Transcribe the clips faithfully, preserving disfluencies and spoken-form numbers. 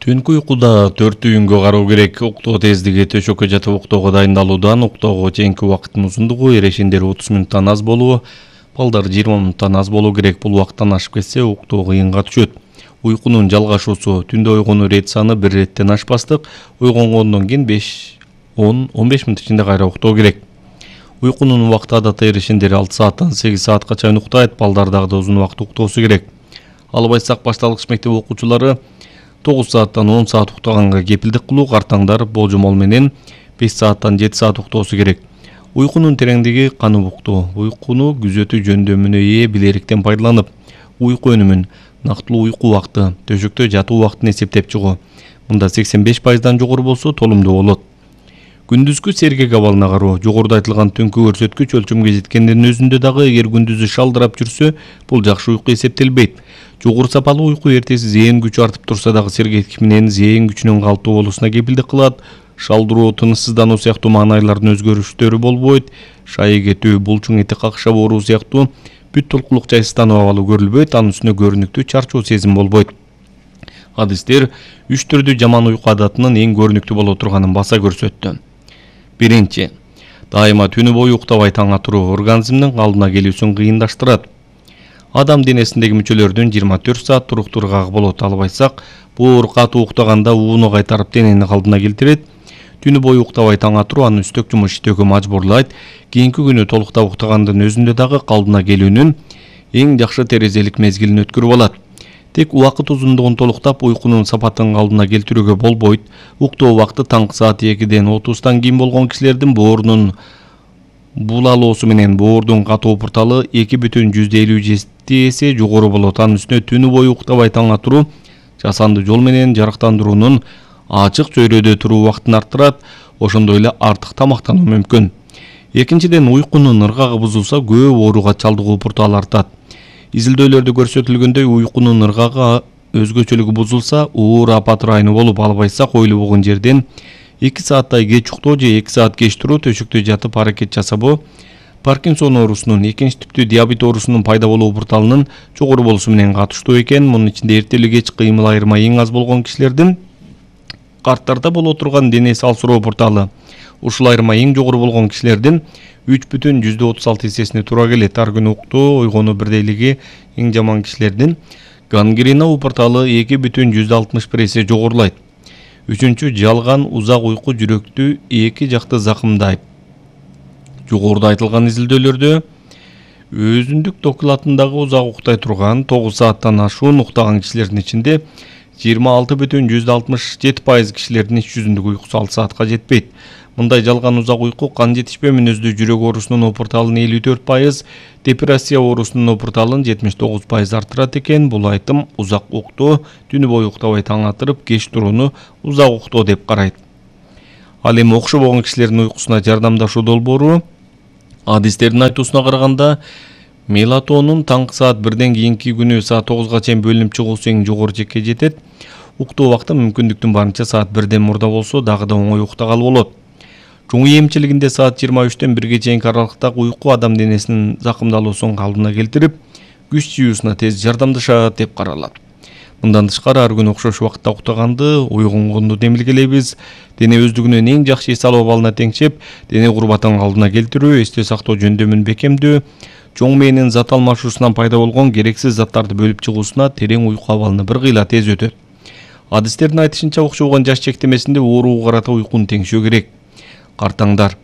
Түнкү уйкуда төрт түйүнгө кароо керек. Уктоо тездиги төшөккө жатып уктоого дайындалуудан уктоого чейинки убакыттын узундугу эрешендер отуз мүнуттан аз болуу, балдар жыйырма мүнуттан аз болуу керек. Бул убакыттан ашып кетсе уктоо кыйынга түшөт. Уйкунун жалгашуусу түндө ойгонуу рет саны бир реттен ашпастык, ойгонгондон кийин беш он он беш мүнөт ичинде кайра уктоо керек. Уйкунун убакыты адатта эрешендер алты сааттан сегиз саатка чейин уктайт, балдар дагы узун убакыт уктоосу керек. Албайсак башталгыч мектеп окуучулары тогуз сааттан он саат уктаганга кепилдик кылуу, картаңдар болжомол менен беш сааттан жети саат уктоосу керек. Уйкунун тереңдиги канып уктоо. Уйкуну күзөтүү жөндөмүнө ээ билеректен пайдаланып, уйку өнүмүн, нактылуу уйку убакыты, төшөктө жатуу убакытын эсептеп чыгуу. Мында сексен беш пайыздан жогору болсо толумдуу болот. Күндүзгү сергек абалына кароо. Жогоруда айтылган түнкү көрсөткүч өлчөмгө жеткендин өзүндө дагы эгер күндүзү шалдырап жүрсө, бул жакшы уйку эсептелбейт. Жогору сапалуу уйку эртеси зээн күчү артып турса дагы сергектик менен зээн күчүнүн калыптуу болуусуна кепилдик кылат. Шалдыруу, тынычсыздануу сыяктуу маанайлардын өзгөрүштөрү болбойт. Шайы кетүү, булчуң эти какшап ооруу сыяктуу бүт толкулук жайсыздануу абалы көрүлбөйт. Анын үстүнө көрүнүктүү чарчоо сезим болбойт. Адистер үч түрдүү жаман уйку адатынын эң көрүнүктүү боло турганын баса көрсөттү. Биринчи, дайыма түнү бою уктабай таң атыруу организмдин калдына келүүсүн кыйындаштырат. Адам денесиндеги мүчөлөрдүн жыйырма төрт саат туруктуу ыргагы болот. Албайсак, боор катуу уктаганда ууну кайтарып денени калдына келтирет. Түнү бою уктабай таң атыруу аны үстөк жумуш иштөөгө мажбурлайт. Кийинки күнү толуктап уктагандын өзүндө дагы калдына келүүнүн эң жакшы терезелик мезгилин өткөрүп алат. Тек убакыт узундугун толуктап уйкунун сапатын калдына келтирүүгө болбойт. Уктоо убакыты таңкы саат экиден отуздан кийин болгон кишилердин боорунун булалоосу менен боордун катуу пурталы эки бүтүн жүздө элүү жети эсе жогору болот. Анын үстүнө түнү бою уктабай таң атыруу жасанды жол менен жарыктандыруунун ачык чөйрөдө туруу убактын арттырат, ошондой эле артык тамактануу мүмкүн. Экинчиден, уйкунун ыргагы бузулса көп ооруга чалдыгуу пурталы артат. Изилдөөлөрдө көрсөтүлгөндөй, уйкунун ыргагы өзгөчөлүгү бузулса, оор апат ырайыны болуп, албайсак ойлобогон жерден эки сааттай кеч уктоо же эки саат кеч туруу, төшөктө жатып аракет жасабоо Паркинсон оорусунун, экинчи типтүү диабет оорусунун пайда болуу пурталынын жогору болуусу менен катыштуу экен. Мунун ичинде эртелүү кеч кыймыл айырма эң аз болгон кишилердин карттарда боло турган дене салсыроо пурталы, ушул айырма эң жогору болгон кишилердин үч бүтүн жүздө отуз алты эсесине туура келет. Ар күнү уктоо, ойгонуу бирдейлиги эң жаман кишилердин гангрена пурталы эки бүтүн жүздө алтымыш бир эсе жогорулайт. Үчүнчү, жалган узак уйку жүрөктү эки жакты закымдайт. Жогоруда айтылган изилдөөлөрдө өзүндүк докладындагы узак уктай турган тогуз сааттан ашуун уктаган кишилердин ичинде жыйырма алты бүтүн жүздө алтымыш жети пайыз кишилердин ич жүзүндүк уйкусу алты саатка жетпейт. Мындай жалган узак уйку кан жетишпөө мүнөздүү жүрөк оорусунун опурталын элүү төрт пайыз, депрессия оорусунун опурталын жетимиш тогуз пайыз арттырат экен. Бул айтым узак уктоо, түнү бою уктабай таң атырып, кеч турууну узак уктоо деп карайт. Ал эми окшобогон кишилердин уйкусуна жардамдашуу долбоору адистердин айтуусуна караганда, мелатонин таңкы саат бирден кийинки күнү саат тогузга чейин бөлүнүп чыгуусу эң жогору чекке жетет. Уктоо убакыты мүмкүндүктүн барынча саат бирден мурда болсо дагы да оңой уктагалы болот. Чоңуу эмчилигинде саат жыйырма үчтөн бирге чейинки аралыктагы уйку адам денесинин закымдалуусун калдына келтирип, күч жыюусуна тез жардамдашат деп каралат. Мындан тышкары ар күнү окшош убакытта уктаганды, ойгонгонду демилгелейбиз. Дене өздүгүнөн эң жакшы эс алуу абалына теңшеп, дене курбатын калдына келтирүү, эстөө сактоо жөндөмүн бекемдөө, чоң мээнин зат алмашуусунан пайда болгон керексиз заттарды бөлүп чыгуусуна терең уйку абалыны бир кыйла тез өтөт. Адистердин айтышынча, окшобогон жаш чектемесинде ооруга карата уйкуну теңшөө керек. Картаңдар.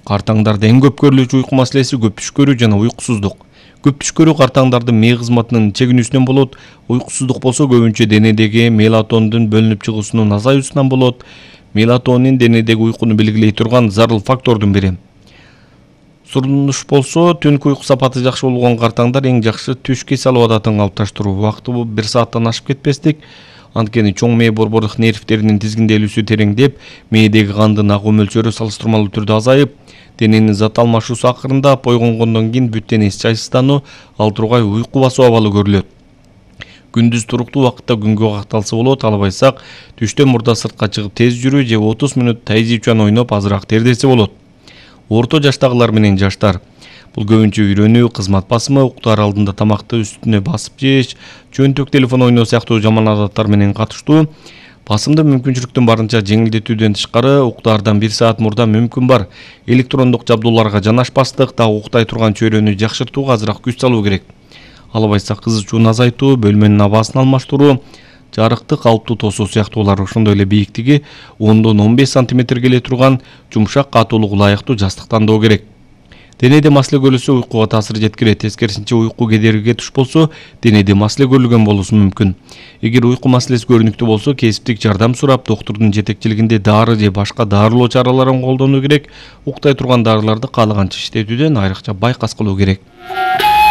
Картаңдарда эң көп көрүлүүчү уйку маселеси көп түш көрүү жана уйкусуздук. Көп түш көрүү картаңдардын мээ кызматынын чегинүүсүнөн болот. Уйкусуздук болсо көбүнчө денедеги мелатондун бөлүнүп чыгуусунун азаюусунан болот. Мелатонин денедеги уйкуну белгилей турган зарыл фактордун бири. Сурунуш болсо, түнкү уйку сапаты жакшы болгон картаңдар эң жакшы түшкө эс алуу адатын калыпташтыруу. Убакыты бул бир сааттан ашып кетпестик. Анткени чоң мээ борбордук нервтеринин тизгинделүүсү тереңдеп, мээдеги кандын агуу мөлчөрү салыштырмалуу түрдө азайып, дененин зат алмашуусу акырындап, ойгонгондон кийин бүт денеси жайсыздануу, ал тургай уйку басуу абалы көрүлөт. Күндүз туруктуу убакытта күнгө какталса болот, албайсак түштөн мурда сыртка чыгып тез жүрүү же отуз мүнөт тайзи-чуан ойноп азыраак тердесе болот. Орто жаштагылар менен жаштар Бул көбүнчө үйрөнүү, кызмат басымы, уктар алдында тамакты үстүнө басып жеш, чөнтөк телефон ойноо сыяктуу жаман адаттар менен катыштуу. Басымды мүмкүнчүлүктүн барынча жеңилдетүүдөн тышкары уктаардан бир саат мурда мүмкүн бар электрондук жабдууларга жанашпастык, дагы уктай турган чөйрөнү жакшыртууга азыраак күч салуу керек. Албайса кызычууну азайтуу, бөлмөнүн абасын алмаштыруу, жарыкты калыптуу тосуу сыяктуулар, ошондой эле бийиктиги ондон он беш сантиметр келе турган жумшак катуулугу ылайыктуу жастык тандоо керек. Денеде маселе көрүлсө уйкуга таасир жеткирет. Тескерисинче уйку кедергиге туш болсо, денеде маселе көрүлгөн болуусу мүмкүн. Эгер уйку маселеси көрүнүктүү болсо, кесиптик жардам сурап, доктурдун жетекчилигинде дары же башка дарылоо чараларын колдонуу керек. Уктай турган дарыларды каалаганча иштетүүдөн айрыкча байкас кылуу керек.